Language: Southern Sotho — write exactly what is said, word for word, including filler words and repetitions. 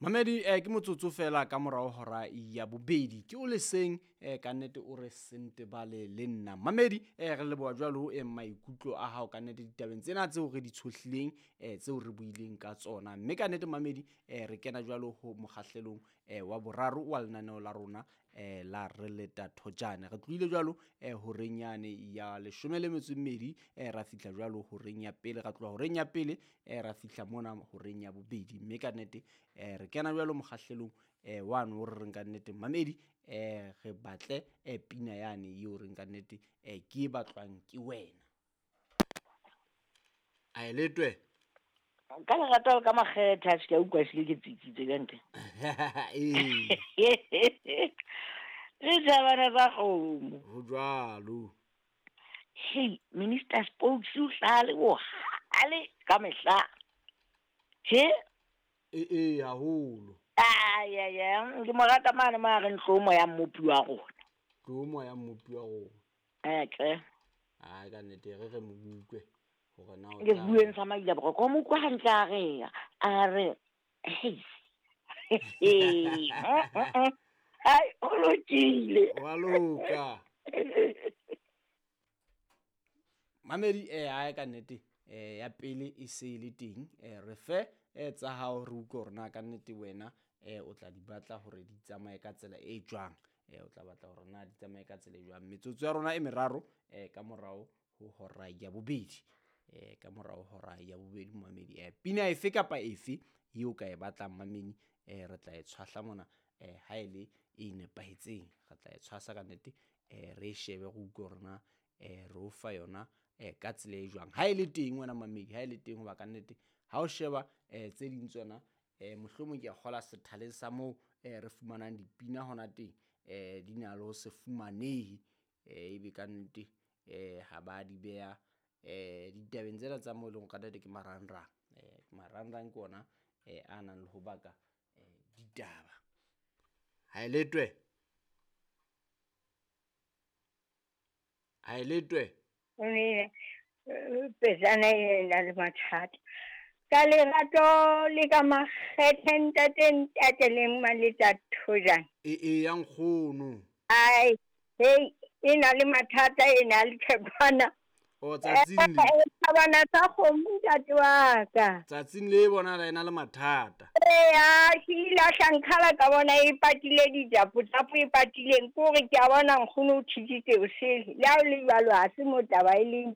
Mamedi eh, ke motsotso fela ka morao hora ya bobedi ke o leseng eh, ka nnete o re sentebale le nna mamedi eh, re leboha jwalo eh, maikutlo a hao ka nnete ditabeng tsena tseo re di tshohlileng eh, tseo re buileng ka tsona mme ka nnete mamedi eh, re kena jwalo ho mokgahlelong eh, wa boraro wa lenaneo la rona eh, la re leta thojane re tlohile jwalo eh, horeng yane ya leshome le metso e mmedi eh, ra fihla jwalo horeng ya pele ra tloha horeng ya pele eh, ra fihla mona horeng ya bobedi mme ka nnete eh, re kena jwalo mokgahlelong eh, wane o re reng ka nnete mamedi eh, re batle eh, pina yane eo reng ka nnete eh, ke e batlwang ke wena a e letwe ka lerato le ka makgethe a se ke a utlwa ehlile ke tsitsitse ka ntle ee re thabana tsa kgomo ho jwalo hei minister spokes o hlale bohale ka mehla he ee ee haholo ayaya ke mo rata mane mo a reng tlo ya mmopi wa rona tlo moya mmopi wa rona eke ai ka nnete re re mo utlwe hore na o ke tla- bueng sa maila boroko o mo utlwa hantle a re a re hei ai o lokile wa loka mamedi eh ae ka nnete eh ya pele e se e le teng eh re fe eh tsa hao re utlwe hore na ka nnete wena eh o tla di batla hore di tsamaye ka tsela e jwang eh o tla batla hore na di tsamaye ka tsela e jwang metsotso ya rona e meraro eh ka morao ho hora ya bobedi eh ka morao hora ya bobedi mamedi eh pina efe kapa efe eo ka e batlang mamedi eh re tla e tshwahla mona eh ha e le e nepahetseng re tla e tshwasa ka nnete eh re e shebe re utlwe hore na eh re o fa yona eh ka tsela e jwang ha e le teng wena mamedi ha e le teng hoba ka nnete ha o sheba eh tse ding tsona eh mohlomong ke a kgola sethaleng sa moo eh re fumanang dipina hona teng eh di na le ho se fumanehe eh ebe ka nnete eh ha ba di beha eh ditabeng tsena tsa moo e leng hore ka nnete ke marangrang eh marangrang ke ona eh a nang le ho baka eh ditaba ha e letwe ha e letwe Mme pejana e na le mathata ka lerato le ka makgethe ntate ntate le mmaleta thojane e e ya nkgono ai hei e na le mathata e na le thekwana o tsatsing le thabana tsa kgomo ntate wa ka tsatsing le bona e na le mathata eya ke ilahla nkgala ka bona e patile dijapo tsapo e patileng ke hore ke a bona nkgono o thusitse o sele le ha o le jwalo ha se mo taba e leng